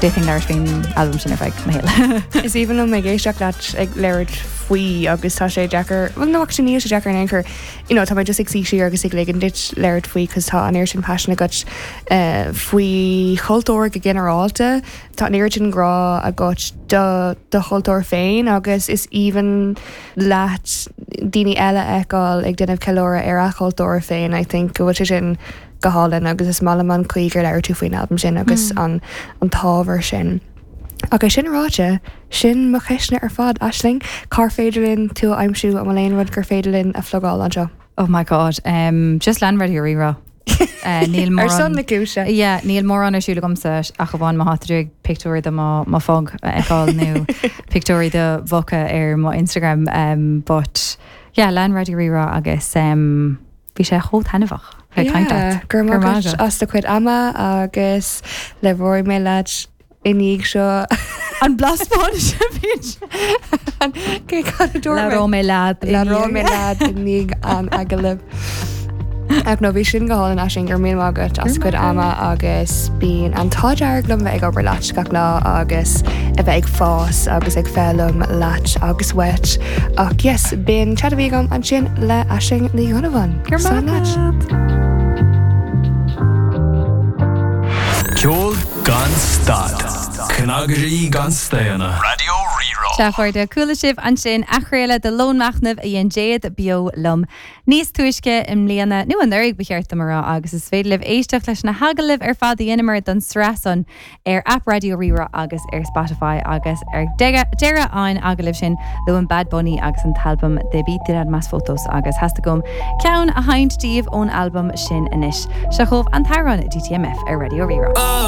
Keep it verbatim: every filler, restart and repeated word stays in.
D'fhéadfainn labhairt faoin albam sin ar feadh mo shaoil. Is aoibhinn liom ag éisteacht leat ag labhairt faoi agus tá sé deacair well no actually níl sé deacair in aon chor you know, tá mé just ag suí siar agus ag ligean duit labhairt faoi cos tá an oiread sin passion agat uh, faoi chultúr go ginearálta Tá an oiread sin grá agat do do chultúr féin agus is aoibhinn leat daoine eile a fheiceáil ag déanamh ceiliúradh ar a chultúr féin I think go bhfuil sé sin go hálainn agus is maith liom an chaoi gur labhair tú faoin albam sin agus mm. an an t-ábhar sin. Agus sin ráite sin mo cheisteanna ar fad Aisling, Cár féidir linn tú a aimsiú an bhfuil aon rud gur féidir linn a phlugáil anseo. Oh my god, um, just lean Raidió Rí-Rá. Uh, níl Ar son na cúise. Yeah, níl mórán ar siúl agamsa ach amháin má tá tú ag pictiúr de mo mo phug a fheiceáil nó pictiúirí de mhuca ar mo Instagram um, but yeah, lean Raidió Rí-Rá agus um, bhí sé chomh taitneamhach bheith caint leat. Gur maith as do chuid ama agus labhróidh mé leat i ndiaidh seo An blas Spáinnise Labhróidh mé leat Labhróidh mé leat i ndiaidh an agallaimh. Ach no bhí sin go hálainn Aisling gur míle maith agat as cuid ama agus bíonn an t-ádh dearg liom bheith ag obair leat gach lá agus a bheith ag fás agus ag foghlaim leat agus uait. Ach yes, b'in chat a bhí agam ansin le Aisling Ní Dhonnabháin. Gur Slán leat. leat. Ceol gan stad. Cnagairí gan staonadh. Raidió Rí-Rá. Sea a chairde, chuala sibh ansin athchraoladh de Lón Machnaimh a dhein Jade beo liom níos túisce i mbliana nó anuraidh ba cheart dom a rá agus is féidir libh éisteacht leis na hagallaimh ar fad a dheineamar don sraith san ar app Raidió Rí-Rá agus ar Spotify agus ar deireadh an agallaimh sin luaim Bad Bunny agus an t-albam Debí Tirar Más Fotos agus theastaigh uaim ceann a sheinnt daoibh ón albam sin anois. Seo chugaibh an t-amhrán DTMF ar Raidió Rí-Rá.